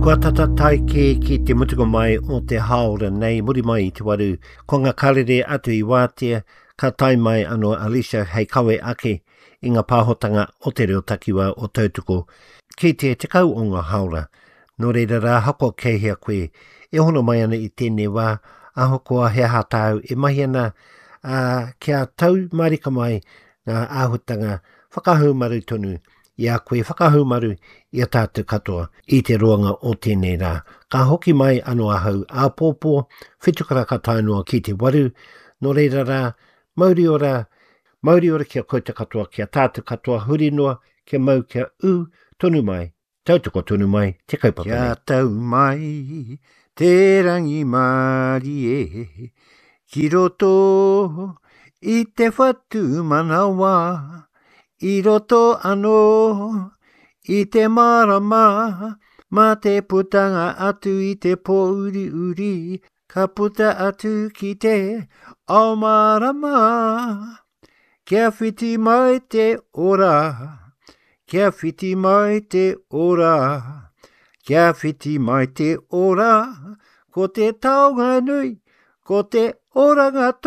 Kua tata tae kē ki te mutunga mai o te hāora nei, muri mai i te waru, ko ngā karere atu i wātea, ka tae mai anō Alicia hei kawe ake i ngā pāhotanga o te reo takiwā o Tautoko ki te 10 o ngā hāora. Nō reira rā, ahakoa kei hea koe e hono mai ana i tēnei wā, ahakoa he aha tāu e mahi ana, ā, kia tau mārika mai ngā āhuatanga whakahaumaru tonu i a koe whakahaumaru i a tātou katoa i te roanga o tēnei rā. Ka hoki mai anō ahau āpōpō, whitukaraka tae noa ki te waru, nō reira rā, mauri ora, mauri ora ki a koutou katoa, ki a tātou katoa huri noa, kia mau, kia ū tonu mai, tautoko tonu mai te kaupapa nei. Kia tau mai te rangimārie ki roto i te whatumanawa, i roto anō i te mārama, mā te putanga atu i te pōuriuri, ka puta atu ki te ao mārama. Kia whiti mai te ora, kia whiti mai te ora, kia whiti mai te ora, ko te taonga nui, ko te oranga tonu.